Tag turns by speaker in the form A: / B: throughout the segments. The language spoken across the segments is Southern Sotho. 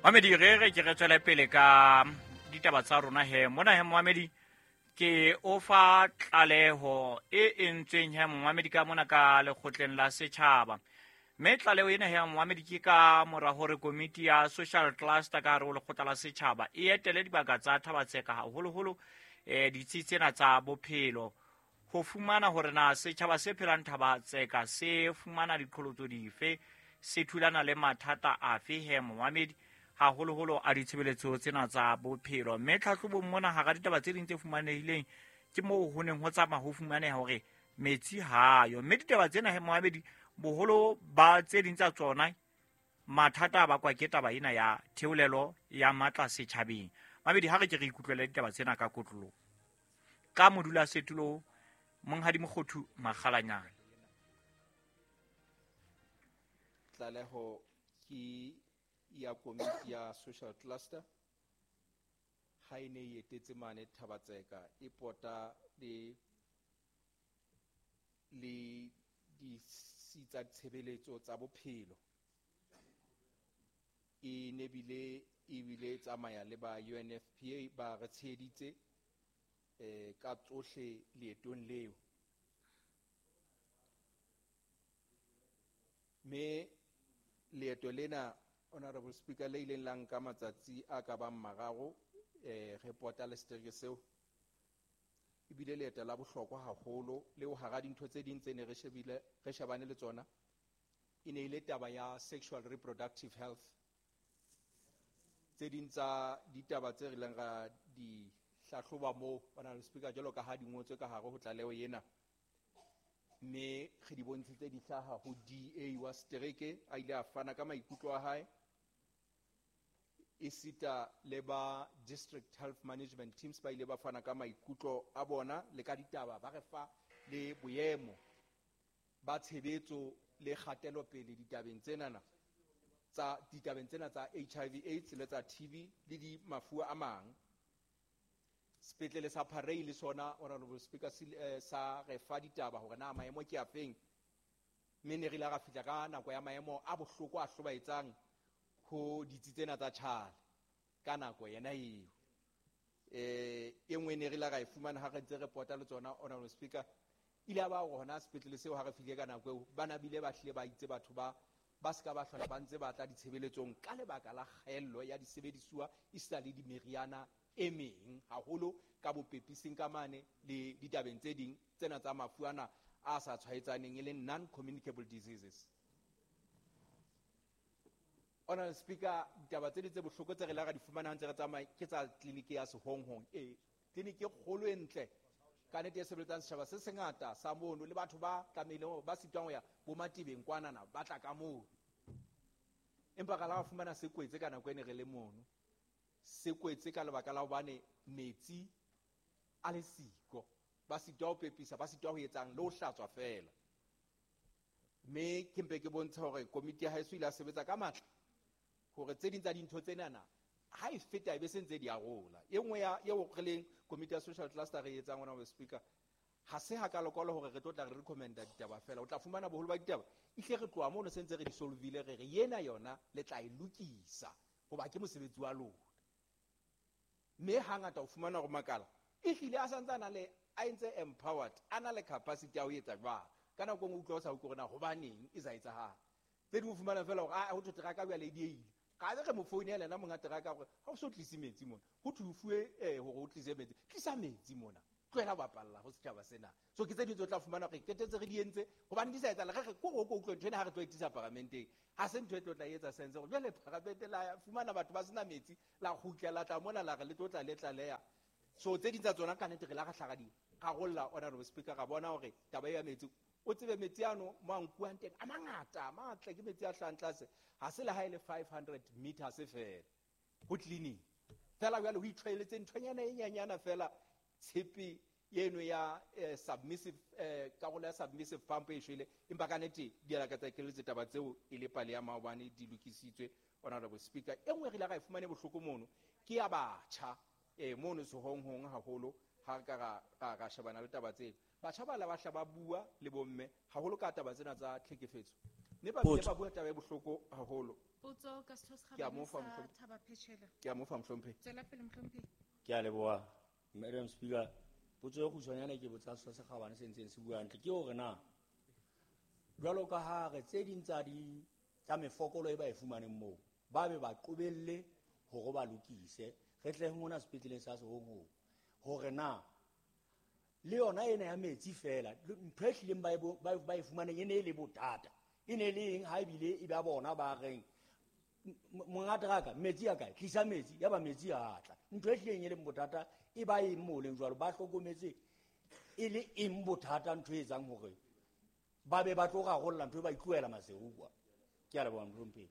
A: Mamedi, re re ke re tswele pele ka ditaba tsa rona he. Mona he Moamedi, ke o fa tlaleho e entsweng he Moamedi ka mona ka lekgotleng la setjhaba. Mme tlaleho ena he Moamedi ke ka mora hore komiti ya social cluster ka hare ho lekgotla la setjhaba e etele dibaka tsa Thabatseka, haholoholo ditsi tsena tsa bophelo, ho fumana hore na setjhaba se phelang Thabatseka se fumana diqholotso dife, se thulana le mathata afe he Moamedi, haholoholo a ditshebeletso tsena tsa bophelo. Mme tlhahlobong mona, hara ditaba tse ding tse fumanehileng, ke moo ho neng ho tsamaya ho fumaneha hore metsi hayo. Mme ditaba tsena he Moamedi, boholo ba tse ding tsa tsona mathata a bakwa ke taba ena ya theolelo ya matla setjhabeng. Mamedi, ha re ke re ikutlwele ditaba tsena ka kotloloho ka modulasetulo Monghadi Mokgothu Makgalanyane.
B: Tlaleho ke ya komiti ya social cluster ha e ne e etetse mane Thabatseka, e pota le ditsi tsa tshebeletso tsa bophelo. E ne bile ebile tsamaya le ba UNFPA, ba re tsheheditse ka tsohle leetong leo. Mme leeto lena, Honorable Speaker, le ileng la nka matsatsi a ka bang mararo, re pota le setereke seo, ebile leeto la bohlokwa haholo leo. Hara dintho tse ding tse ne re shebile, re shebane le tsona, e ne e le taba ya sexual reproductive health. Tse ding tsa ditaba tse re ileng ra di hlahloba moo, Honorable Speaker, jwalo ka ha di ngotswe ka hare ho tlaleho ena, mme re di bontshitse di hlaha ho DA wa setereke, a ile a fana ka maikutlo a hae, esita le ba district health management teams ba ile ba fana ka maikutlo a bona le ka ditaba, ba re fa le boemo ba tshebetso le kgatelopele ditabeng tsena tsa HIV AIDS le tsa TB le di mafu a mang. Sepetlele sa Parey le sona, Honorable Speaker, sa re fa ditaba hore na maemo ke afeng, mme ne re ile ra fihla ka nako ya maemo a bohloko a hlobaetsang ho ditsi tsena tsa tjhale ka nako yena eo. E nngwe ne re ile ra e fumana ha re ntse re pota le tsona, Honorable Speaker, ile ya ba hore hona sepetlele seo, ha re fihle ka nako eo, ba bile ba hlile ba itse batho ba se ka ba hlola ba ntse ba tla ditshebeletsong ka lebaka la kgaello ya disebedisuwa esita le dimeriana e meng, haholo ka bopepising ka mane le ditabeng tse ding tsena tsa mafu ana a sa tshwaetsaneng, e leng non-communicable diseases. Honorable Speaker, ditaba tse ding tse bohloko tse re la ra di fumana ha ntse re tsamaya ke tsa tleliniki ya Sehonghong. E tleliniki e kgolo, e ntle ka nnete, e sebeletsang setjhaba se sengata sa mono, le batho ba tlamehileng ba sitwang ho ya bo Matebeng kwanana ba tla ka mono, empa ra la ra fumana se kwetse ka nako e ne re le mono. Se kwetse ka lebaka la hobane metsi a le siko, ba sitwa ho pepisa, ba sitwa ho etsang le ho hlatswa feela. Mme ke mpe ke bontsha hore komiti ya haeso ile a sebetsa ka matla hore tse ding tsa dintho tsenana ha e feta e be se ntse di arola. E nngwe ya eo re leng komiti ya social cluster re etsang, Honorable Speaker, ha se hakalo-kalo hore re tlo tla re recommenda ditaba fela. O tla fumana boholo ba ditaba ehle re tloha mono se ntse re di solvile, re re yena yona le tla e lokisa hoba ke mosebetsi wa lona. Mme hangata o fumana hore makala ehlile a santse a na le a entse empowered, a na le capacity ya ho etsa jwalo. Ka nako e nngwe utlwa o sa utlwe hore na hobaneng e sa etsahala. Tse ding o fumana fela hore ho thwe teraka jwale e dieile, ka be re mo founela yena monga teraka hore ha o so tlise metsi mona, ho thwe o fuwe hore o tlise metsi, tlisa metsi mona, tlohela ho bapalla ho setjhaba sena. So ke tse ding tse o tla fumana hore qetetse re di entse hobane di sa etsahala. Re re ko ko utlwe ntho ena ha re tlo e tlisa paramenteng, ha se ntho e tlo tla etsa sense hore jwale paramente la fumana batho ba sena metsi, la kgutla la tla mona la re le tlo tla le tlaleha. So tse ding tsa tsona ka nnete re la re hlaga di rarolla, Honorable Speaker. Ra bona hore taba ya metsi, o tsebe metsi ano mo a nkuwang teng a mangata, a matle, ke metsi a hlahang tlase, ha se le ha e le 500 meters fela ho clinic fela. Jwale ho itlwaeletse nthonyana e nyanyana fela, tshepe eno ya submissive, karolo ya submissive pump e shwele, empa ka nnete di a lakatsa keletse taba tseo e le pale ya maobane, di lokisitswe, Honorable Speaker. E nngwe re ile ra e fumane bohloko mono ke ya batjha mono Sehonghong, haholo ha re ka ra shebana le taba tseo. Batjha ba la ba hla ba bua le bomme haholo ka taba tsena tsa tlhekefetso, mme ba bile ba bua taba e bohloko haholo.
C: Potso ka setho se
B: Ke a
C: kgabane
B: mo fa
C: sa
B: mohlomphehi.
C: Thaba Phechela.
B: Ke a mo fa mohlomphehi.
C: Tswela pele mohlomphehi.
D: Ke a leboha, Madam Speaker. Potso e kgutshwanyane ke botsa setho se kgabane se ntseng se bua hantle ke hore na jwalo ka ha re tse ding tsa di tsa mefokolo e ba e fumaneng moo ba be ba qobelle hore ba lokise re tle mona sepetleleng sa Sehonghong hore na le yona ena ya metsi fela ntho e hlileng ba e fumaneng e ne e le bothata e ne le eng ha ebile e ba bona ba reng monga teraka metsi a kae tlisa metsi ya ba metsi a tla ntho e hlileng e leng bothata e ba eng moo leng jwalo ba hlokometse e le eng bothata ntho e etsang hore ba be ba tlo rarolla ntho e ba itlohela Maseru kwa. Ke a leboha mohlomphehi.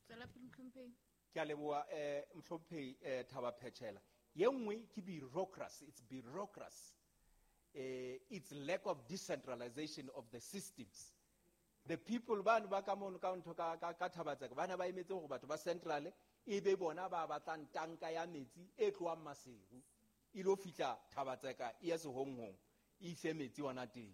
C: Tswela pele mohlomphehi.
B: Ke a leboha mohlomphehi Thaba Phechela. Ye nngwe ke bureaucracy, it's bureaucracy. It's lack of decentralization of the systems. The people bano ba ka mono ka ntho ka Thabatseka ba ne ba emetse hore batho ba central e be bona ba batlang tanka ya metsi e tlohang Maseru e lo fihla Thabatseka e ya Sehonghong e ise metsi ona teng.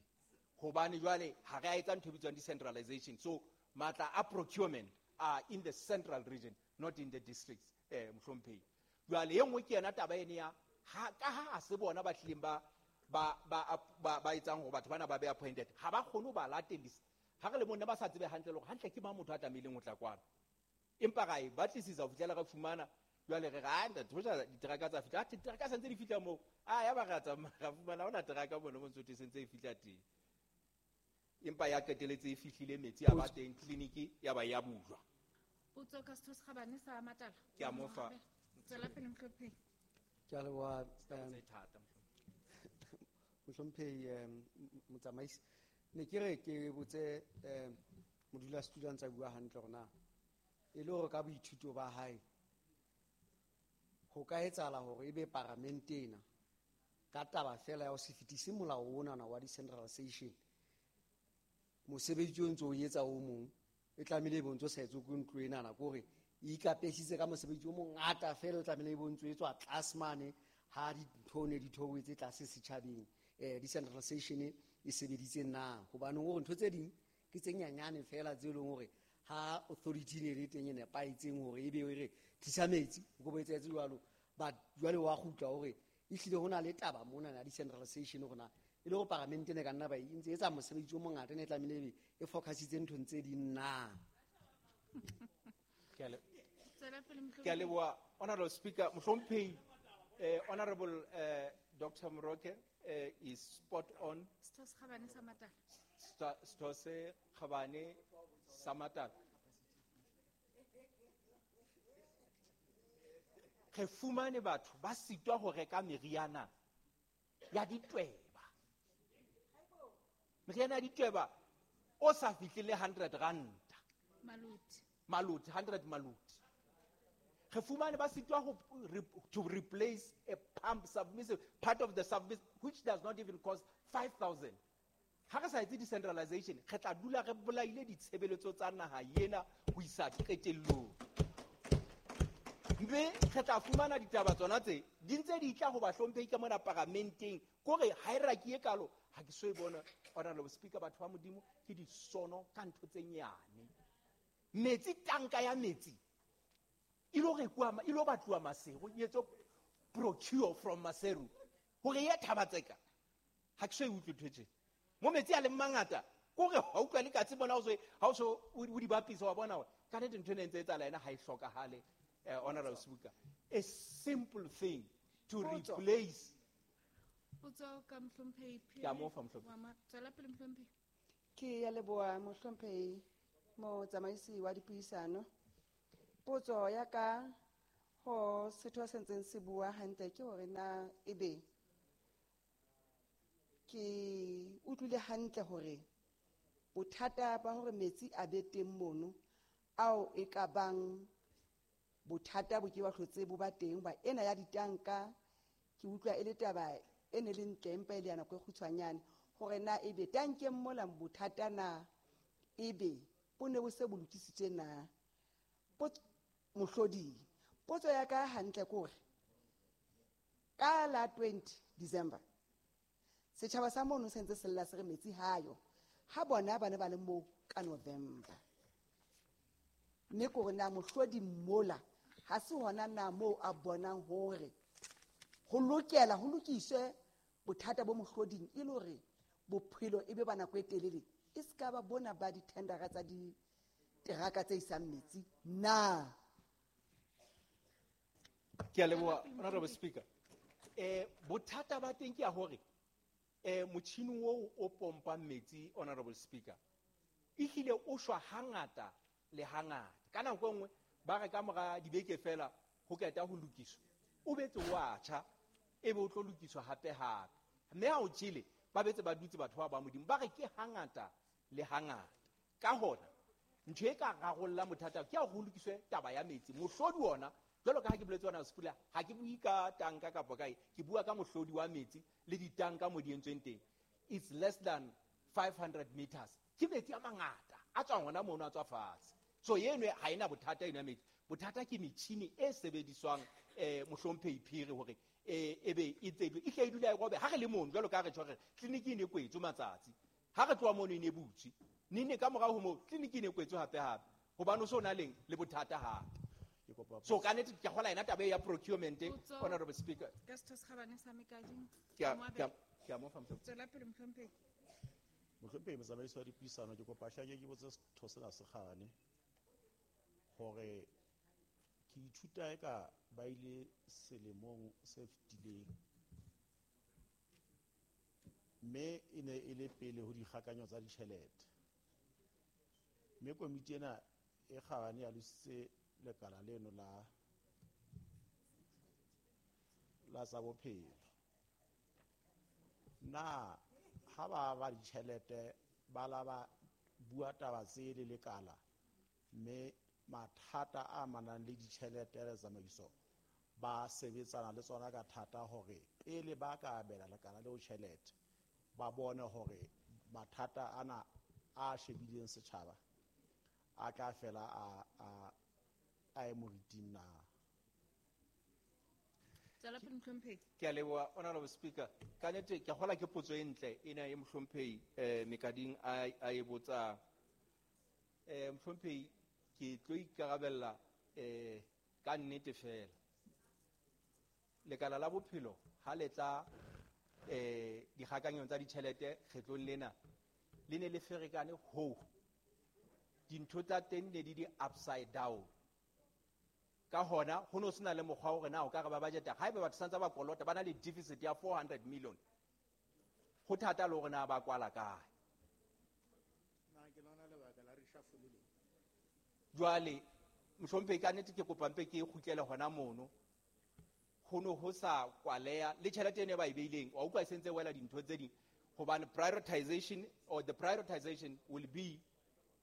B: Hobane jwale ha re a etsa ntho e bitswang decentralization. So matla a procurement are in the central region, not in the districts, mohlomphehi. Jwale e nngwe ke yona taba ene ya ha ka ha a se bona ba hlileng ba etsang hore batho bana ba be appointed ha ba kgone ho ba latellisa. Ha re le monna ba sa tsebe hantle le hore hantle ke mang motho a tlamehileng ho tla kwano. Empa ra e batlisisa ho fihlela re fumana jwale re re, ah, ntate, hoja diteraka tsa fihla. Ah, diteraka sentse di fihla moo. Ah, ya ba re a tsamaya, ra fumana hona teraka mono mo ntso te sentse e fihla teng. Empa ya qeteletse e fihlile metsi a ba teng tleliniki ya ba ya bulwa.
C: Potso ka setho se kgabane sa Matala.
B: Ke a mo fa.
C: Tswela pele mohlomphehi.
E: Ke a leboha,
B: Tse thata, mohlomphehi.
E: Mohlomphehi, motsamaisi. Ne ke re ke botse modulasetulo a ntse a bua hantle hore na e le hore ka boithuto ba hae ho ka etsahala hore ebe paramente ena ka taba fela ya ho se fetise molao onana wa decentralization mosebetsi o ntse o etsa o mong e tlamehile e be o ntso sa etswe ke ntlo enana, ke hore e ikapesitse ka mosebetsi o mongata fela o tlamehile e be o ntso etswa tlase mane ha dintho ne di theohetse tlase setjhabeng, decentralization e sebeditse na? Hobane hore ntho tse ding ke tse nyanyane fela tse leng hore ha authority ne le teng e nepahetseng hore ebe e re tlisa metsi, o ko bo etsahetse jwalo. But jwale wa kgutla hore ehlile ho na le taba mona ya decentralization hore na e le hore paramente ne ka nna ba e ntse e etsa mosebetsi o mongata ne tlamehile ebe e focusitse nthong tse ding na?
B: Ke a
C: Tswela pele, mohlomphehi.
B: Ke a leboha, Honorable Speaker. Mohlomphehi, Honorable Doctor Moroke is spot on.
C: Setho se kgabane sa Matala.
B: Setho se kgabane sa Matala. Re fumane batho ba sitwa ho reka meriana ya ditweba. Meriana ya ditweba o sa fihlile 100 rand.
C: Maluti.
B: Maluti, 100 maluti. Re fumane ba sitwa ho to replace a pump submissive, part of the submissive, which does not even cost 5,000. Ha re sa etse decentralization, re tla dula re bolaile ditshebeletso tsa naha ena ho isa qetellong. Mme re tla fumana ditaba tsona tse di ntse di tla ho bahlomphehi ka mona paramenteng, kore hierarchy e kalo ha ke so e bona. Honorable Speaker, batho ba Modimo ke disono ka ntho tse nyane. Metsi, tanka ya metsi e lo rekuwa e lo batluwa Maseru, e etswe procure from Maseru hore e ye Thabatseka. Ha ke so e utlwe ntho e tjena. Mo metsi a leng mangata, kore ha utlwa le katse bona ha o so o di bapisa wa bona hore ka nnete ntho ena e ntse e etsahala ena ha e hlokahale. Honorable Speaker, a simple thing to
C: Potso.
B: replace.
C: Potso ka mohlomphehi
B: Ke a mo fa, mohlomphehi.
C: Wa ma-, tswela pele, mohlomphehi.
F: Ke ya leboha, mohlomphehi motsamaisi wa dipuisano. Potso ya ka ho setho se ntseng se bua hantle ke hore na ebe ke utlwile hantle hore bothata ba hore metsi a be teng mono ao e ka bang bothata bo ke ba hlotse bo ba teng ba ena ya ditanka, ke utlwa e le taba e ne le ntle empa e le ya nako e kgutshwanyane hore na ebe tankeng mola bothata na ebe bo ne bo se bo lokisitswe na? Mohloding. Potso ya ka hantle ke hore ka la 20 December setjhaba sa mono se ntse se lla se re metsi hayo, ha bona ba ne ba le moo ka November. Mme ke hore na mohlodi mola ha se hona na moo a bonang hore ho lokela ho lokiswe bothata bo mohloding e le hore bophelo e be ba nako e telele, e se ka ba bona ba dithendara tsa diteraka tse isang metsi na.
B: Ke a leboha, Honorable Speaker. Bothata ba teng ke ya hore motjhini oo o pompang metsi, Honorable Speaker, ehlile o shwa hangata le hangata. Ka nako e nngwe ba re ka mora dibeke fela ho qeta ho lokiswa, o betse wa tjha, ebe o tlo lokiswa hape hape. Mme ha o tjhele, ba betse ba dutse batho ba ba Modimo, ba re ke hangata le hangata. Ka hona ntho e ka rarollang bothata ke ya hore ho lokiswe taba ya metsi. Mohlodi ona, jwalo ka ha ke boletse hona Sepula, ha ke bue ka tanka kapa kae, ke bua ka mohlodi wa metsi le ditanka mo di entsweng teng. It's less than 500 meters. Ke metsi a mangata a tswang hona mono, a tswa fatshe. So eno ha ena bothata eno ya metsi. Bothata ke metjhini e sebediswang, mohlomphehi Phiri, hore ebe e tsebe e hle e dula e robe. Ha re le mono, jwalo ka ha re tjho re tleliniki e ne kwetswe matsatsi, ha re tloha mono e ne butswe nene, ka morao ho moo tleliniki e ne kwetswe hape hape, hobane o so na leng le bothata hape. So ka nnete ke kgola yena taba e ya procurement,
C: Potso.
B: Honorable Speaker.
C: Ka setho se kgabane sa Mekading.
B: Ke a-
C: Moabelo.
B: ke a mo fa, mohlomphehi.
C: Tswela pele, mohlomphehi.
G: Mohlomphehi motsamaisi wa dipuisano, ke kopa hlake ke botse setho sena se kgabane hore ke ithuta eka ba ile selemong se fetileng, mme e ne e le pele ho dikgakanyo tsa ditjhelete, mme komiti ena e kgabane ya lositse lekala leno la tsa bophelo. Na ha ba ba ditjhelete ba la ba bua taba tse le lekala, mme mathata a amanang le ditjhelete le tsamaiso ba sebetsana le tsona ka thata hore pele ba ka abela lekala leo tjhelete ba bone hore mathata ana a shebileng setjhaba a tla fela a e moriting na?
C: Tswela pele, mohlomphehi.
B: Ke a leboha, Honorable Speaker. Ka nnete ke kgola ke potso e ntle ena e mohlomphehi Mekading a e botsang. Mohlomphehi, ke tlo ikarabella, ka nnete fela. Lekala la bophelo ha le tla, dikgakanyong tsa ditjhelete kgetlong lena, le ne le ferekane hoo. Dintho tsa teng ne di di upside down. Ka hona ho no sena le mokgwa hore na o ka re ba budgeta. Haeba batho santse ba kolota, ba na le deficit ya 400 million. Ho thata le hore na ba kwala kae.
H: Na ke lona lebaka la reshuffle le?
B: Jwale mohlomphehi, ka nnete ke kopa mpe ke kgutlele hona mono. Ho no ho sa kwaleha le tjhelete eno e ba e beileng, wa utlwa e sentse e wela dintho tse ding, hobane prioritization or the prioritization will be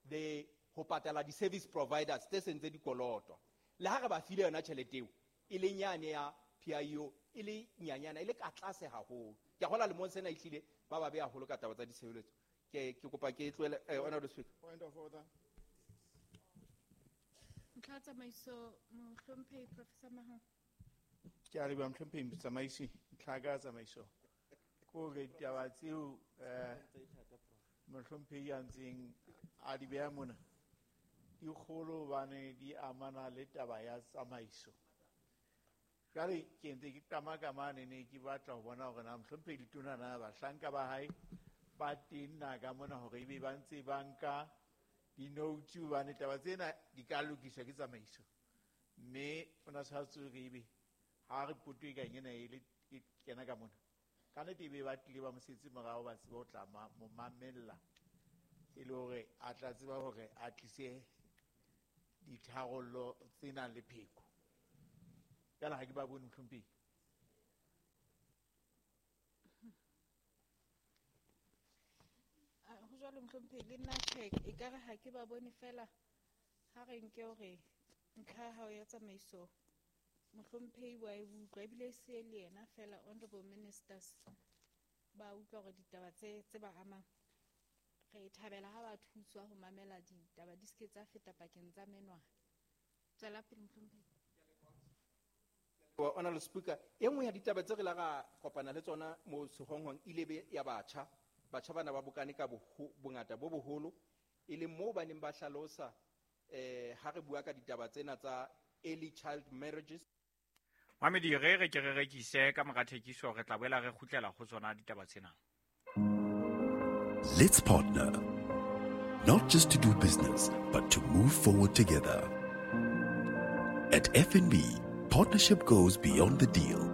B: the ho patala di-service providers tse sentse di kolotwa. Le ha re ba file yona tjhelete eo, e le nyane ya PIO, e le nyanyana, e le ka tlase haholo. Ke a kgolwa lemong sena ehlile ba ba beha haholo ka taba tsa ditshebeletso. Ke kopa ke tlohele, Honorable Speaker.
H: Point of order.
C: Ntlha ya tsamaiso, mohlomphehi Professor Mahao.
H: Ke a leboha, mohlomphehi motsamaisi. Ntlha ya tsamaiso ke hore ditaba tseo, mohlomphehi a ntseng a di beha mona di kgolo hobane di amana le taba ya tsamaiso. Jwale ke ntse ke qama ka mane, ne ke batla ho bona hore na mohlomphehi Letona na bahlanka ba hae ba teng na ka mona hore ebe ba ntse ba nka di-notes, hobane taba tsena di ka lokiswa ke tsamaiso. Mme o na tshwanetse hore ebe ha re poto e kang ena e le e kena ka mona, ka nnete ebe ba tlile ba mo setse morao, ba tsebe ho tla mo mamella e le hore a tla tseba hore a tlise ditharollo tse nang le pheko. Jwale ha ke ba bone, mohlomphehi.
C: Ho jwalo, mohlomphehi, le nna tjhe, ekare ha ke ba bone fela. Ha re nke hore ntlha ya hao ya tsamaiso mohlomphehi wa e utlwa, ebile e se le yena fela, honorable ministers ba utlwa hore ditaba tse ba amang. Re thabela ha ba thuswa ho mamela ditaba di se ke tsa feta pakeng tsa menwana. Tswela pele, mohlomphehi.
B: Honorable Speaker, e nngwe ya ditaba tse re la ra kopana le tsona mo sehonghong ile be ya batjha. Batjha bana ba bokane ka bongata bo boholo, e leng moo ba neng ba hlalosa Ha re bua ka ditaba tsena tsa early child marriages.
A: Mamedi re re ke re rekise ka mora thekiso re tla boela re kgutlela ho tsona ditaba tsena.
I: Let's partner. Not just to do business, but to move forward together. At FNB, partnership goes beyond the deal.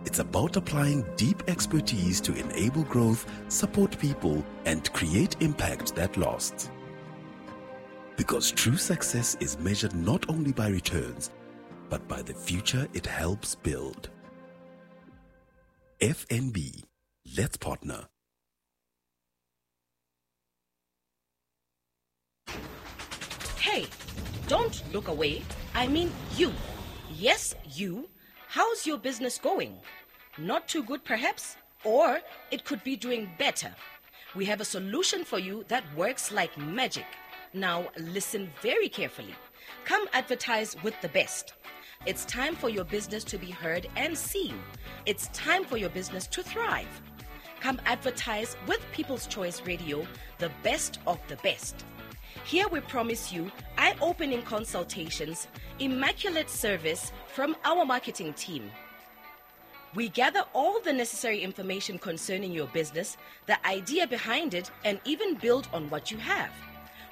I: It's about applying deep expertise to enable growth, support people, and create impact that lasts. Because true success is measured not only by returns, but by the future it helps build. FNB, let's partner.
J: Hey, don't look away. I mean you. Yes, you. How's your business going? Not too good, perhaps? Or it could be doing better. We have a solution for you that works like magic. Now, listen very carefully. Come advertise with the best. It's time for your business to be heard and seen. It's time for your business to thrive. Come advertise with People's Choice Radio, the best of the best. Here we promise you eye-opening consultations, immaculate service from our marketing team. We gather all the necessary information concerning your business, the idea behind it, and even build on what you have.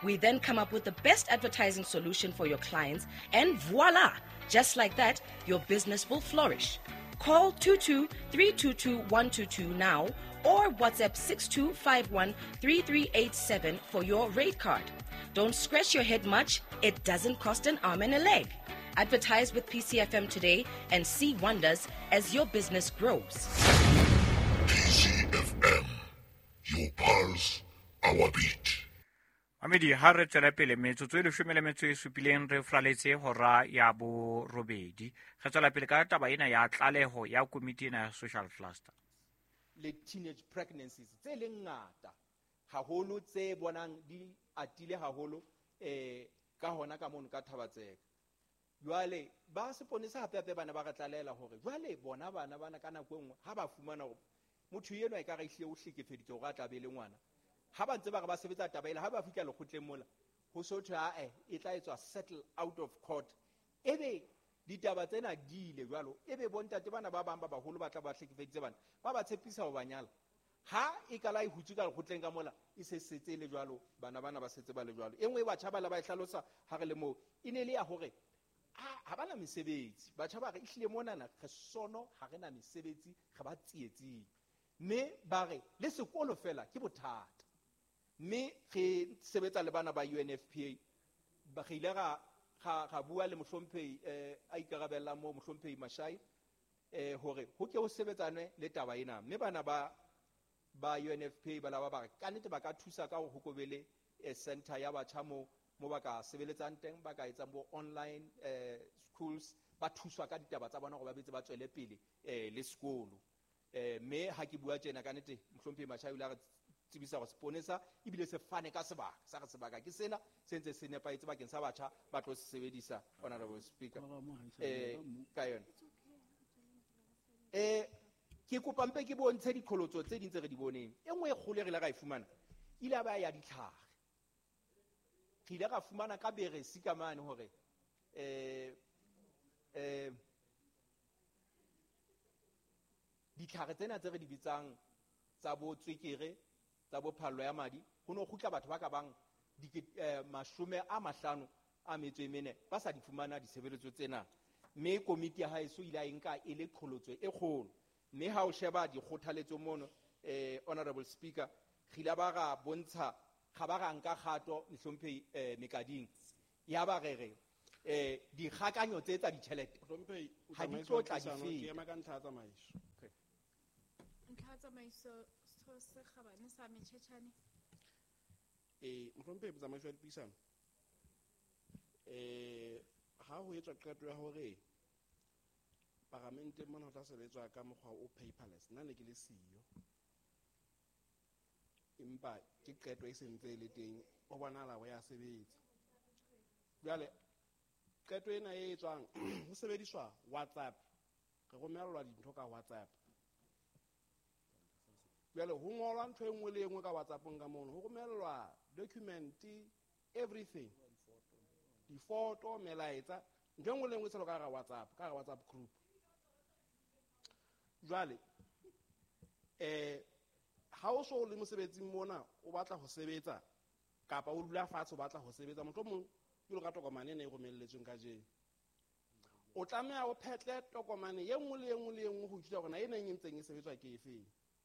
J: We then come up with the best advertising solution for your clients, and voila! Just like that, your business will flourish. Call 22-322-122 now or WhatsApp 6251-3387 for your rate card. Don't scratch your head much. It doesn't cost an arm and a leg. Advertise with PCFM today and see wonders as your business grows.
K: PCFM, your pulse, our beat.
A: Mamedi ha re tswela pele metsotso e 17 re fraletse hora ya borobedi. Re tswela pele ka taba ena ya tlaleho ya komiti ena ya social cluster.
B: Le teenage pregnancies tse leng ngata haholo tse bonang di atile haholo ka hona ka mono ka Thabatseka. Jwale ba seponesa hape hape bana ba re tlalela hore jwale bona bana bana ka nako e nngwe ha ba fumana hore motho enwa e ka re ehlile o hlekefeditswe hore a tla be le ngwana. Ha ba ntse ba re ba sebetsa taba ela ha ba fihla lekgotleng mola ho so thwe ae e tla etswa settle out of court. Ebe ditaba tsena di ile jwalo ebe bontate bana ba bang ba baholo ba tla ba hlekefeditse bana ba ba tshepisa ho ba nyala. Ha e ka la e hutswe ka lekgotleng ka mola e se setse le jwalo bana bana ba setse ba le jwalo. E nngwe e batjha ba la ba e hlalosa ha re le moo e ne le ya hore ha bana mesebetsi. Batjha ba re ehlile monana re sono ha re na mesebetsi re ba tsietsing. Mme ba re le sekolo fela ke bothata. Mme re sebetsa le bana ba UNFPA ba re ile ga bua le mohlomphehi a ikarabellang mo mohlomphehi Mashai hore ho ke ho sebetsanwe le taba ena. Mme bana ba UNFPA ba la ba re ka nnete ba ka thusa ka hore ho kobele center ya batjha mo ba ka sebeletsang teng, ba ka etsang bo online schools, ba thuswa ka ditaba tsa bona hore ba betse ba tswele pele le sekolo. Mme ha ke bua tjena ka nnete mohlomphehi Mashai o ile a re tsebisa hore seponesa ebile se fane ka sebaka sa re sebaka ke sena se ntse se nepahetse bakeng sa batjha ba tlo se sebedisa. Honorable Speaker ka yona ke kopa mpe ke bontshe diqholotso tse ding tse re di boneng. E nngwe e kgolo e re ile ra e fumana ile ba ya ditlhare. Re ile ra fumana ka beresi ka mane hore ditlhare tsena tse re di bitsang tsa bo tswekere tsa bo phallo ya madi ho no kgutla batho ba ka bang 54 ba sa di fumana ditshebeletso tsena. Mme komiti ya haeso ile a nka e le qholotso e kgolo. Mme ha o sheba dikgothaletso mono Honorable Speaker re ile ba ra bontsha ga ba ra nka kgato mohlomphehi mekading ya ba re re dikgakanyo tse tsa ditjhelete ha di tlo tla di feta.
G: Ke ka ntlha ya tsamaiso.
C: Ntlha ya tsamaiso setho se kgabane sa Metjhetjhane.
G: Mohlomphehi motsamaiso wa dipuisano ha ho etswa qeto ya hore parlamente mona ho tla sebetswa ka mokgwa o paperless, nna ne ke le siyo, empa ke qeto e sentse e le teng, ho bonahala ho ya sebetsa. Jwale qeto ena e etswang ho sebediswa WhatsApp, re romellwa dintho ka WhatsApp. Jwale ho ngolwa ntho e nngwe le e nngwe ka WhatsAppong ka mono, ho romellwa document, everything.
L: Difoto, melaetsa, ntho e nngwe le e nngwe e tshelwa ka hara WhatsApp, ka hara WhatsApp group. Jwale ha o so le mosebetsing mona o batla ho sebetsa kapa o dula fatshe o batla ho sebetsa, mohlomong jwalo ka tokomane ena e romelletsweng kajeno, o tlameha o phetle tokomane e nngwe le e nngwe le e nngwe ho ithuta hore na e neng e ntseng e sebetswa ke efeng.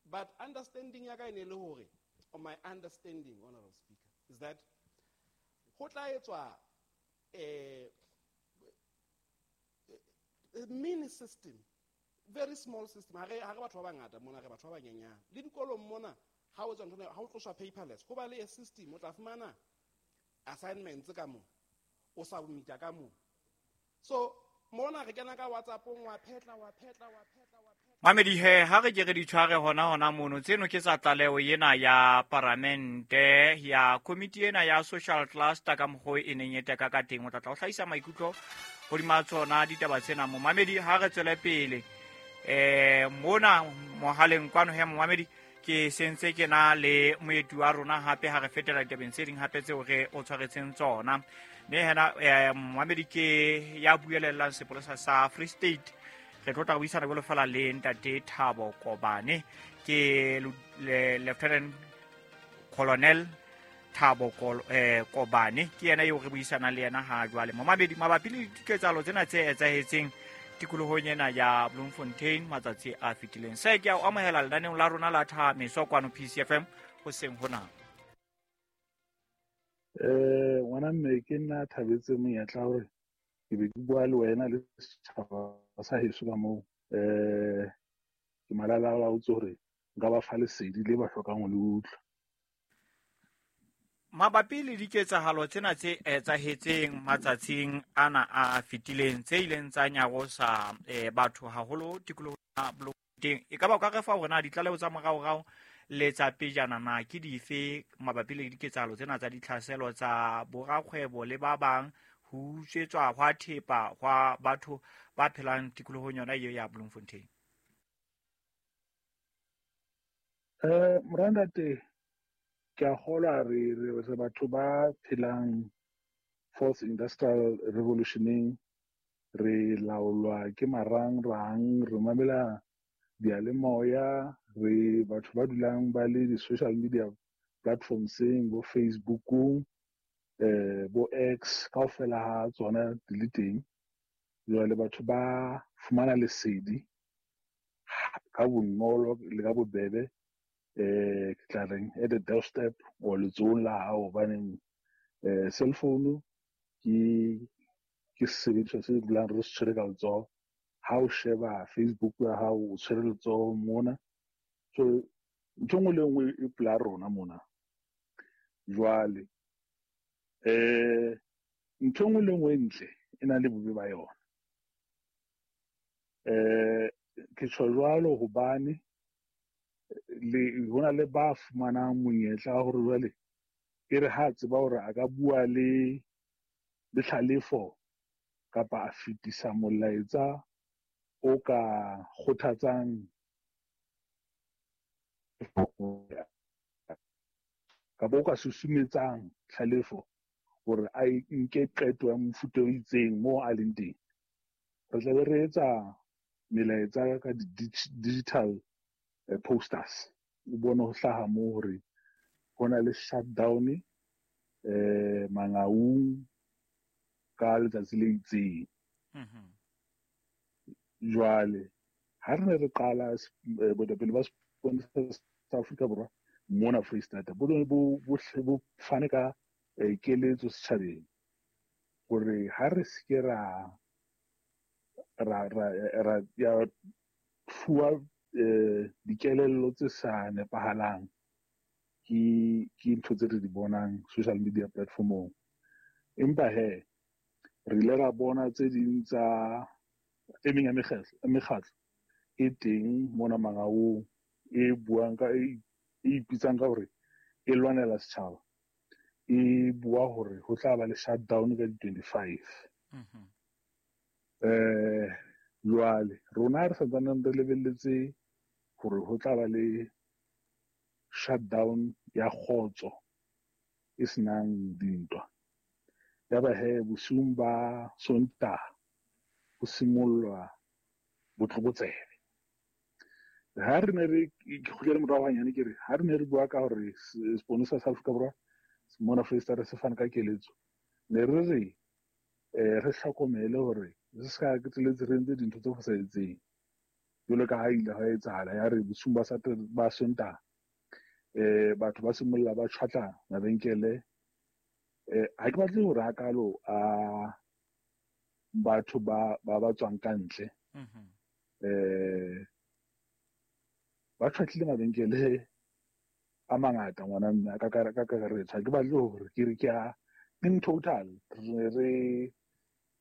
L: But understanding ya ka e ne le hore, or my understanding, Honorable Speaker, is that ho tla etswa mini system, very small system. Ha re batho ba bangata mona, re batho ba banyenyane. Le dikolong mona, ha o etswa ntho ena, ha o tloswa paperless, ho ba le a system, o tla fumana assignments ka moo, o submita ka moo. So mona re kena ka WhatsApp-ong, wa phetla, wa phetla, wa phetla, wa phetla.
A: Mamedi he, ha re ke re di tshware hona hona mono, tseno ke tsa tlaleho ena ya paramente ya komiti ena ya social cluster ka mokgwa e neng e teka ka teng. O tla tla o hlahisa maikutlo hodima tsona ditaba tsena. Momamedi, ha re tswele pele mona mohaleng kwano he, momamedi, ke sentse ke na le moeti wa rona hape ha re fetela ditabeng tse ding hape tseo re o tshwaretseng tsona. Mme hena momamedi ke ya buelellang sepolesa sa Free State. Re tlo tla buisana jwalo fela le ntate Thabo Kobane, ke Lieutenant Colonel Thabo Kobane, ke yena eo re buisanang le yena ha jwale. Momamedi, mabapi le diketsahalo tsena tse etsahetseng tikolohong ena ya Bloemfontein matsatsi a fetileng. Se ke a o amohela lenaneong la rona la Thameso kwano PCFM hoseng hona.
M: Ngwana mme, ke nna thabetse monyetla hore ke be ke bua le wena le setjhaba sa heso ka moo. Ke malala-a-laotse hore nka ba fa lesedi le ba hlokang ho le utlwa.
A: Mabapi le diketsahalo tsena tse etsahetseng matsatsing ana a fetileng tse ileng tsa nyarosa batho haholo tikolohong ya Bloemfontein, e ka ba o ka re fa hore na ditlaleho tsa moraorao le tsa pejana na ke dife mabapi le diketsahalo tsena tsa ditlhaselo tsa borakgwebo le ba bang ho utswetswa hwa thepa hwa batho ba phelang tikolohong yona eo ya Bloemfontein?
M: Morandate, ke a kgolwa re batho ba phelang fourth industrial revolutioneng, re laolwa ke marangrang, re mamela diyalemoya, re batho ba dulang ba le di-social media platformseng, bo Facebookong, bo X, kaofela ha tsona di le teng. Jwale batho ba fumana lesedi ka bonolo le ka bobebe, ke tla reng at the doorstep or letsohong la hao, hobaneng cell phone ke sesebediswa se dulang re se tshwere ka letsoho. Ha o sheba Facebook ya hao, o tshwere letsoho mona. So ntho e nngwe le e nngwe e pela rona mona. Jwale ntho e nngwe le e nngwe e ntle e na le bobe ba yona. Ke tjho jwalo hobane le hona le ba fumanang monyetla wa hore jwale e re ha tseba hore a ka bua le tlhalefo kapa a fetisa molaetsa o ka kgothatsang kapa o ka susumetsang tlhalefo hore a nke qeto ya mofuta o itseng moo a leng teng. Re tla be re etsa melaetsa ka digital posters. O bone ho hlaha moo hore ho na le shutdown Mangaung ka letsatsi le itseng. Jwale ha re ne re qala boetapele ba sepolesa sa Afrika Borwa mona Freistata bo ne bo fane ka keletso setjhabeng hore ha re se ke ra ya fuwa dikelello tse sa nepahalang ke ntho tse re di bonang social media platformong. Empa he re ile ra bona tse ding tsa e meng ya mekgatlo e teng mona Mangaung e buang ka e ipitsang ka hore e lwanela setjhaba, e bua hore ho tla ba le shutdown ka di-25. Jwale rona re santsaneng re lebelletse hore ho tla ba le shutdown ya kgotso e senang dintwa. Yaba he bosiung ba Sontaha ho simollwa botlokotsebe. Ha re ne re ke kgutlele morao hanyane, ke re ha re ne re bua ka hore seponesa sa Afrika Borwa mona Foreisetata se fane ka keletso, ne re re re hlokomele hore re se ka qetelletse re entse dintho tse fosahetseng jwalo ka ha ile ha etsahala ya re bosiung ba ba Sontaha batho ba simolla ba tjhwatla mabenkele. Ha ke batle hore hakalo a batho ba ba tswang ka ntle ba tjhwatlile mabenkele a mangata ngwana mme ka kakaretso. Ha ke batle hore ke re ke a in total re re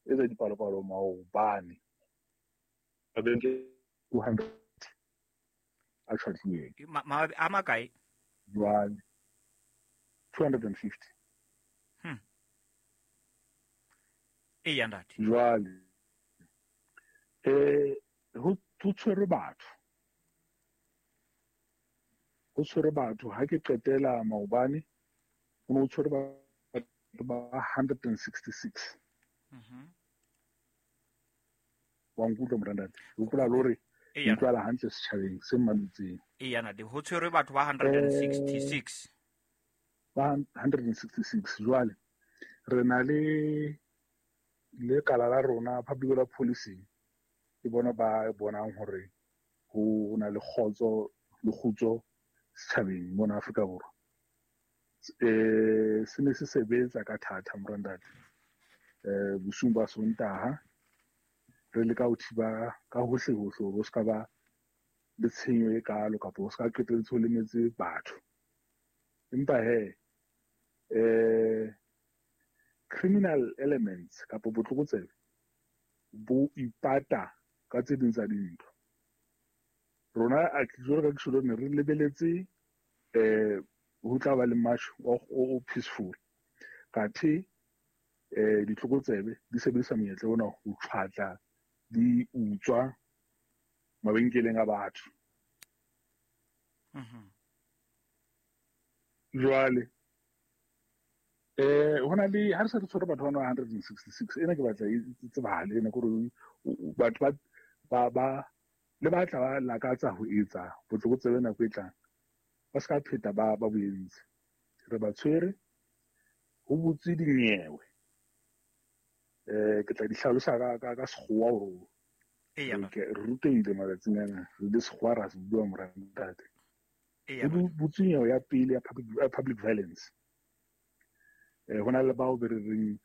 M: etsa dipalopalo maobane mabenkele 200 a tjhwatlilweng.
A: A makae?
M: Jwale 250.
A: Eya ntate.
M: Jwale ho tshwerwe batho. Ho tshwerwe batho ha ke qetela maobane ho ne ho tshwerwe batho ba 166. Wa nkutlwa morantate? Hopola le hore utlwala hantle setjhabeng se mametseng.
A: Eya ntate, ho tshwerwe batho ba 166.
M: Ba 166. Jwale re na le lekala la rona public order policing, ke bona ba bonang hore ho na le kgotso le kgutso setjhabeng mona Afrika Borwa. Se ne se sebetsa ka thata morantate. Bosiung ba Sontaha re leka ho thiba ka hohle hohle hore ho ska ba le tshenyo e kalo kapa ho ska qetelletse ho lemetse batho. Empa he criminal elements kapa botlokotsebe bo ipata ka tse ding tsa dintho. Rona a ke jwalo ka ke tjho ne re lebeletse ho tla ba le march o peaceful. Kathe ditlokotsebe di sebedisa monyetla ona ho tjhwatla, di utswa mabenkeleng a batho. Jwale hona le ha re se re tshwere batho ba 166 ena ke batla e tsebahale ena kore batho ba le batla ba lakatsa ho etsa botlokotsebe nako e tlang ba ska pheta ba bo entse. Re ba tshwere ho butse dinyewe. Ke tla di hlalosa ka sekgowa hore re rutehile matsatsing ana re le sekgowa ra se bua morantate. Ho butse nyewe ya pele ya public violence. Hona le bao be re reng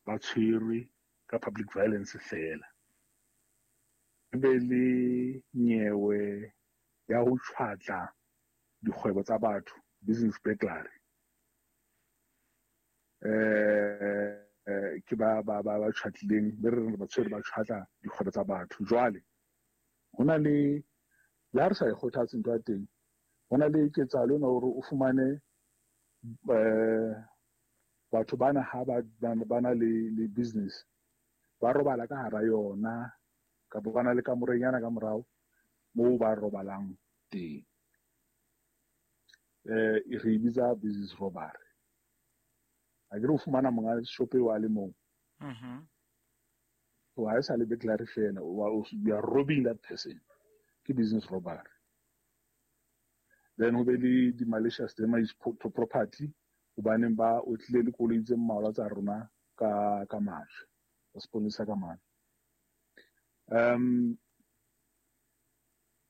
M: ba tshwerwe ka public violence fela. Be le nyewe ya ho tjhwatla dikgwebo tsa batho, business burglary. Ke ba tjhwatlileng be re reng ba tshwere ba tjhwatla dikgwebo tsa batho. Jwale hona le ha re sa e kgothatse ntho ya teng, hona le ketsahalo ena hore o fumane batho bana ha ba na le business ba robala ka hara yona kapa ba na le kamorenyana ka morao moo ba robalang teng. Re e bitsa business robbery. Ha ke re o fumana monga shop eo a le mong. So ha e sa le burglary fela, you are robbing that person. Ke business robbery. Then ho be le di-malicious damage to property hobaneng ba otlile le koloi tse mmalwa tsa rona ka majwe, ba seponesa ka majwe.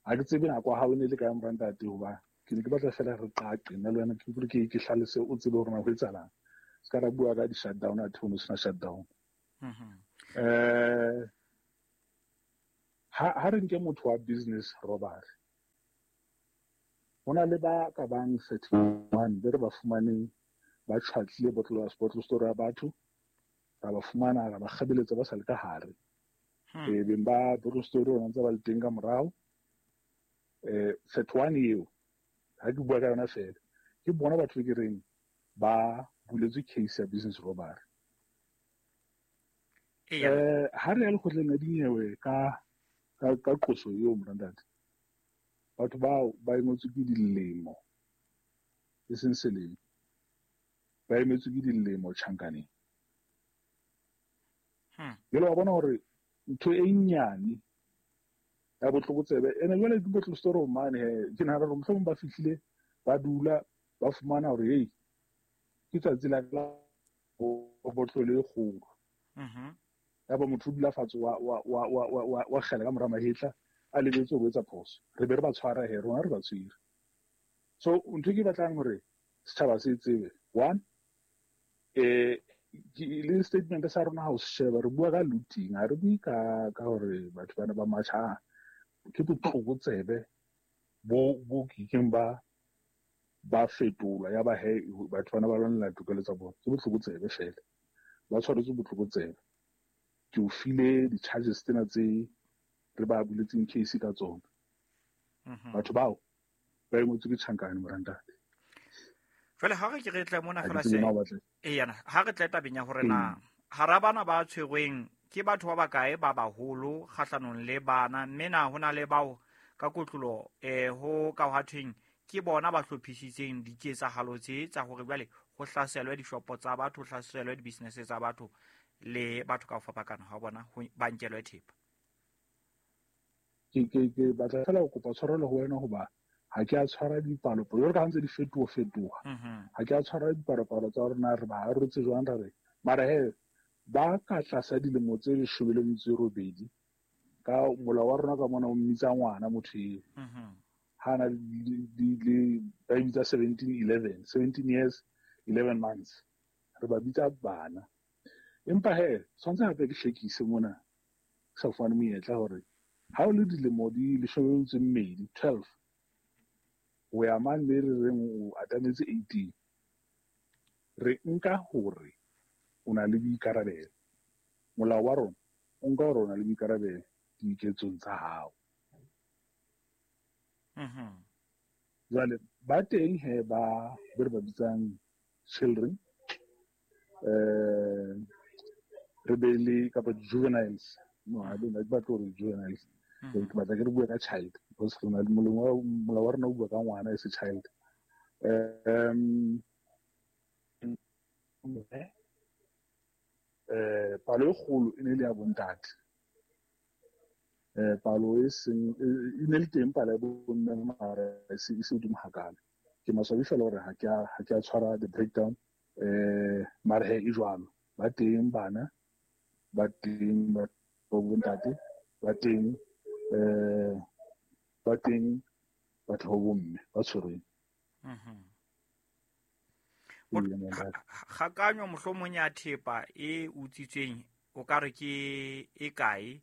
M: Ha ke tsebe nako ya hao e ne le kae morantate, hoba ke ne ke batla fela re qaqe nna le wena, ke utlwe ke hlalose o tsebe hore na ho etsahalang. Se ka ra bua ka di-shutdown, athe ho no sena shutdown. Ha re nke motho wa business robbery, hona le ba ka bang 31 be re ba fumaneng ba tjhwatlile bottle store ya batho, ra ba fumana ra ba kgabeletsa ba sa le ka hare. Beng ba bottle store ona ntse ba le teng ka morao. 31 eo ha ke bua ka yona fela, ke bona batho be ke reng ba buletswe case ya business robbery. Ha re ya lekgotleng la dinyewe ka qoso eo morantate, batho bao ba emetswe ke dilemo, e seng selemo, ba emetswe ke dilemo tjhankaneng. Jwale wa bona hore ntho e nyane ya botlokotsebe ene jwale ke botlokotsebe mane he ke nahana hore mohlomong ba fihlile ba dula ba fumana hore hei ke tsatsi la botlolo e kgolo. Ya ba motho o dula fatshe wa kgela ka mora mahetla a lebetse ho etsa phoso. Re be re ba tshwara he rona re ba tshwere. So ntho e ke batlang hore setjhaba se tsebe, one, le statement sa rona ha o se sheba re bua ka looting, ha re bue ka hore batho bana ba matjha. Ke botlokotsebe bo kekeng ba fetolwa ya ba he batho bana ba lwanela tokelo tsa bona. Ke botlokotsebe fela, ba tshwaretswe botlokotsebe. Ke o file di-charges tsena tse re ba buletseng case ka tsona. Batho bao ba engwetswe ke tjhankane morantate.
A: Jwale ha re ke re tle mona fela se yana ha re tle tabeng ya hore na hara bana ba tshwerweng ke batho ba bakae ba baholo kgahlanong le bana, mme na hona le bao ka kotlolo ho ka hwa thweng ke bona ba hlophisitseng diketsahalo tse tsa hore jwale ho hlaselwe dishopo tsa batho, ho hlaselwe di-business tsa batho le batho ka ho fapakana ha bona ba nkelwe thepa.
M: Ke batla fela ho kopa tshwarelo ho wena hoba ha ke a tshwara dipalopalo jwalo ka ha ntse di fetoha. Ha ke a tshwara dipalopalo tsa rona re ba arotse jwang ra re mara he ba ka tlasa dilemo tse 18 ka molao wa rona ka mona o mmitsa ngwana motho eo. Ha na le ba bitsa 17 11, 17 years 11 months re ba bitsa bana. Empa he tshwanetse hape ke hlekise mona ke sa fumane monyetla hore ha o le dilemo di 12 12 o ya mane le re reng o atametse 18 re nka hore o na le boikarabelo. Molao wa rona o nka hore o na le boikarabelo diketsong tsa hao. Jwale ba teng he ba re ba bitsang children, re be le kapa juveniles. No, I don't like batho hore juveniles. Ke batla ke re bue ka child because re na le molao wa rona o bua ka ngwana as a child. Palo e kgolo e ne le ya bontate. Palo e seng e ne le teng palo ya bomme mara e se hodimo hakalo. Ke maswabi fela hore ha ke a tshwara the breakdown, mara he e jwalo. Ba teng bana, ba teng ba bontate, ba teng batho ba bomme ba tshwerweng.
A: Kgakanyo mohlomong ya thepa e utswitsweng o ka re ke e kae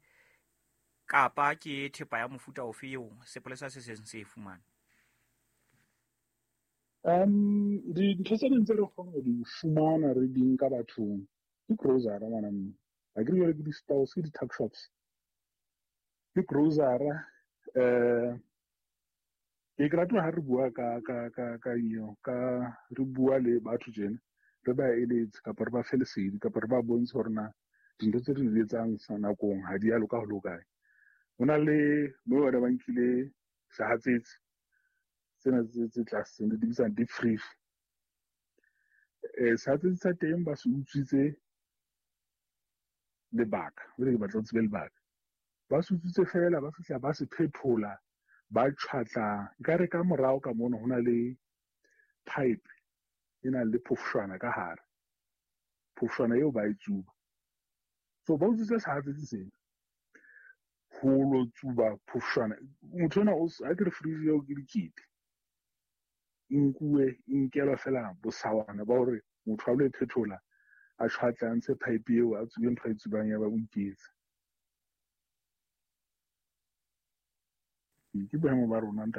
A: kapa ke thepa ya mofuta ofe eo sepolesa se seng se e fumane?
M: Dintho tse ding tse re kgona ho di fumana re di nka bathong ke grocery ngwana mme. Ha ke re jwale ke di-stores, ke di-tuck shops. Ke grocery, ke rata ha re bua ka re bua le batho tjena re ba eletse kapa re ba fe lesedi kapa re ba bontshe hore na dintho tse re di etsang sa nakong ha di a loka ho le hokae. Ho na le moo ba nkile sehatsetsi tsena tse tlase di bitsang deep freeze. Sehatsetsi sa teng ba se utswitse lebaka, jwale ke batla ho tsebe lebaka. Ba se utswitse fela ba fihla ba se phethola ba tjhwatla nkare ka morao ka mono ho na le pipe e nang le phofshwana ka hare. Phofshwana eo ba e tsuba. So ba utswitse sehatsetsi sena ho lo tsuba phofshwana. Motho ona ha ke re fridge eo ke dikete e nkuwe e nkelwa fela bosawana ba hore motho a lo e phethola a tjhwatle a ntshe pipe eo a tsube ntho a e tsubang ya ba o iketse. Ke boemo ba rona ntate.